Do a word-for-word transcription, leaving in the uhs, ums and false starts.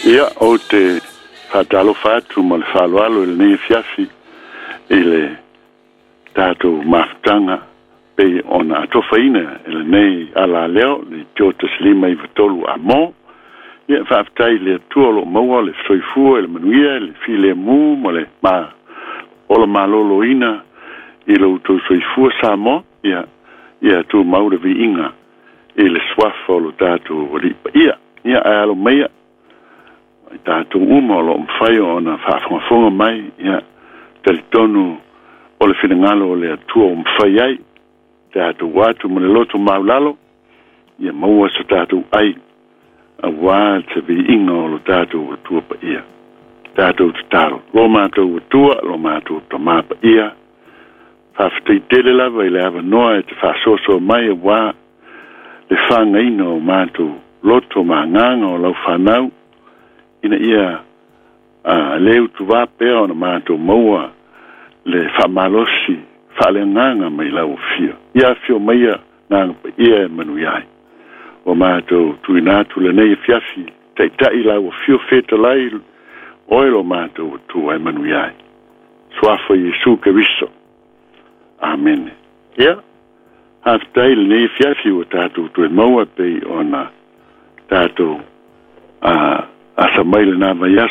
Ia ou te faatalofa atu ma le faaaloalo i lenei afiafi i le tatou mafutaga pei ona atofaina e lenei alaleo le Tio tasi lima iva tolu Amo. Ia faafetai i le Atua o loo maua le soifua i le manuia le filemu ma le ma ola maloloina i lo outou soifua Samoa. Ia ia tumau le viiga i le suafa o lo tatou Alii Paia. Ia ae alo maia i tatou uma o loo mafai ona faafogafoga mai. Ia talitonu o le finagalo o le Atua ua mafai ai tatou atu ma le loto maulalo, ia maua so tatou ai auā se viiga o lo tatou Atua Paia. Tatou tatalo. Lo matou Atua, lo matou Tamā Paia, faafetai tele lava i le avanoa e te faasoasoa mai auā le fagaina o matou loto ma agaga o lau fanau, ina ia a le utuvā pea ona matou maua le faamalosi faaleagaga mai lau afio. Ia afio maia Agaga Paia e manuia ai. Ua matou tuuina atu lenei afiafi, taitai lau afio fetalai oe lo matou Atua e manuia ai. Suafa Iesu Keriso. Amene. Ia, faafetai i lenei afiafi ua tatou toe maua pei ona tatou a asa mai lena vaiaso.